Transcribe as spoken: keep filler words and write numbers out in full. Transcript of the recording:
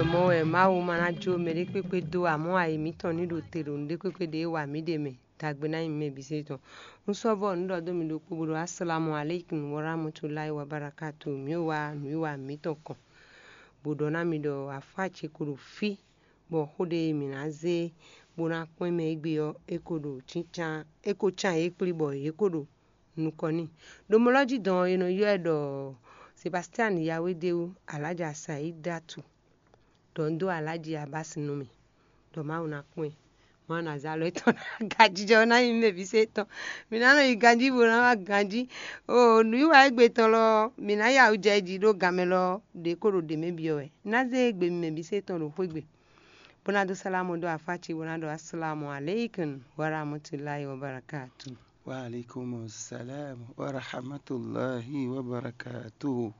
Mɔ wɛ Mawu ma ná jó mɛ ɖé kpékpé dó, amɔ̌ ayi mǐtɔn ní ɖo te ɖo nǔɖé kpékpé ɖě wa mǐ ɖe mɛ. Dagbe ná nyi mɛ bǐ se tɔn. Un sɔ́ vɔ nǔ ɖɔ dó mi ɖokpó bó ɖo asalamu aleykum warahmatulahi wabarakatu. Mǐ wa nǔwiwa mǐtɔn kɔn, bó ɖɔ ná mi ɖɔ afá ce ko ɖo fí, bɔ xó ɖé e mǐ ná zé bó ná kpɔ́n mɛ égbé ɔ́, é ko ɖo cíncan, é ko cán yě kplí bɔ yě ko ɖo nukɔn n'i. Ɖo mɔ lɔ jí dɔn ɔ́, è nɔ ylɔ́ ɛ ɖɔ Sebastian Yawédéwu Alájà Saidatu. Ɖɔ un dó Alájí Abási nú mì, ɖɔ Mawu ná kpɔ́n ɛ. Mawu ná zé alɔ étɔn ná ganjijɛ ɔ́ ná nyi mɛ bǐ se tɔn. Mǐ ná nɔ yi ganjí bó ná wá ganjí. O nǔwiwa égbé tɔn lɔ, mǐ ná ya wǔ jɛ jí ɖó ganmɛ lɔ ɖě ko ɖo ɖě mɛ byɔ́ wɛ. Ná zé égbé mi mɛ bǐ se tɔn ɖo xwé gbe, bó ná dó sálámù dó afá ce, bó ná ɖɔ asalamu aleykum warahmatulahi wabarakatu. Wa alaikum salam wa rahmatulahi wa barakatuhu.